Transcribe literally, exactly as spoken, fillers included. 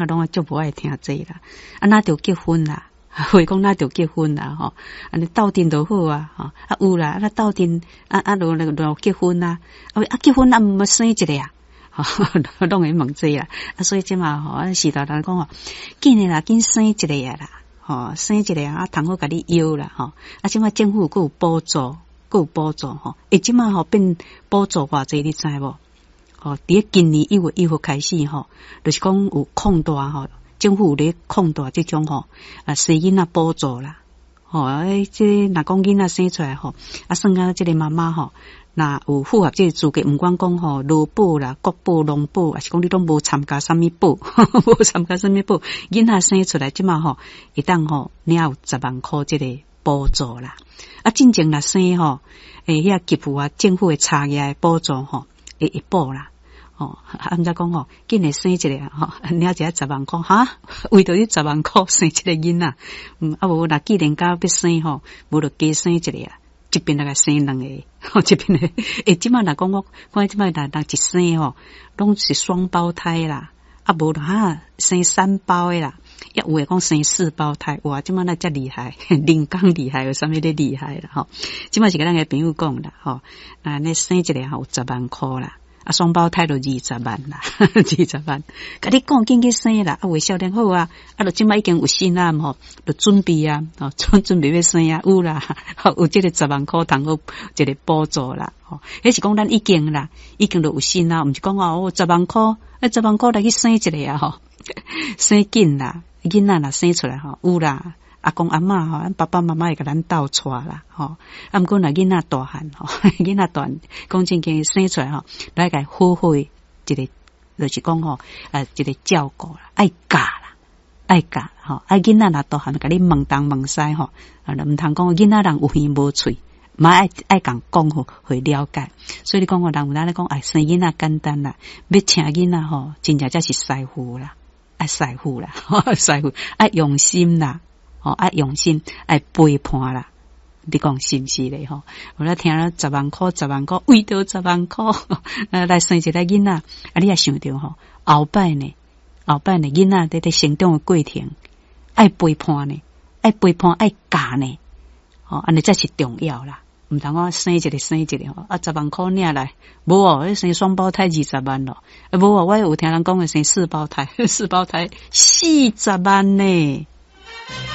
攏足無愛聽這啦。啊，若著結婚啦，話講若著結婚啦，吼，按呢鬥陣就好啊，吼，啊有啦，啊鬥陣啊啊，就就結婚啊，啊結婚啊，毋生一个啊，攏會問這啦。啊，所以這馬吼，啊時代人講吼，緊的啦，緊生一個啊啦，吼，生一個啊，通好共你養啦，吼。啊，這馬政府閣有補助，閣有補助吼。欸，這馬吼變補助偌濟，你知無？吼，佇今年一月一號開始吼，就是講有擴大吼，政府有咧擴大這種吼啊生囡仔補助啦。吼，欸，這若講囡仔生出來吼，啊，算啊，這個媽媽吼，若有符合這個資格，毋管講吼勞保啦、國保、農保，抑是講你攏無參加啥物保，無參加啥物保，囡仔生出來，這馬吼會當吼領有十萬箍這個補助啦。啊，進前若生吼，欸，遐給付啊，政府會差額的補助吼，會會補啦。吼，啊，毋知講吼，緊來生一個吼，領一个十萬箍，哈，為著這十萬箍生一個囡仔，嗯，啊無，若既然甲欲生吼，無就加生一個啊，一邊來共生兩個，一邊來，欸，這馬若講我看這馬若若一生吼，攏是雙胞胎啦，啊無就哈生三胞的啦，抑有的講生四胞胎，哇，這馬哪遮厲害，人工厲害，有啥物咧厲害啦？吼，這馬是共咱个朋友講啦，吼，啊，你生一個吼有十萬箍啦。啊，雙胞胎就二十萬啦，二十萬。共你講緊去生啦，啊，有的少年好啊，啊，就這馬已經有心啊，吼，就準備啊，吼，準準備欲生啊，有啦，有這個十萬箍通好一個補助啦，吼，彼是講咱已經啦，已經都有心啊，毋是講哦，十萬箍，啊，十萬箍來去生一個啊，吼，生緊啦，囡仔若生出來吼，有啦。阿公阿嬤吼，咱爸爸媽媽會共咱鬥帶啦，吼。啊，毋過若囡仔大漢吼，囡仔大漢，講正經生出來吼，來共好好的一個，就是講吼，啊，一個照顧啦，愛教啦，愛教吼，啊，囡仔若大漢，共你問東問西吼，啊，毋通講囡仔人有耳無喙，嘛愛愛共講予會了解。所以你講人有當咧講，哎，生囡仔簡單啦，欲請囡仔吼，真正才是師傅啦，愛師傅啦，師傅愛用心啦。吼，愛用心，愛陪伴啦，你講是毋是咧？吼，我咧聽了十萬箍，十萬箍，為著十萬箍，來生一個囡仔，啊，你也想著吼，後擺呢，後擺呢，囡仔佇咧成長的過程，愛陪伴呢，愛陪伴，愛教呢，吼，按呢才是重要啦。毋通講生一個生一個吼，啊，十萬箍領來，無哦，你生雙胞胎二十萬咯，啊，無哦，我有聽人講的生四胞胎，四胞胎四十萬呢。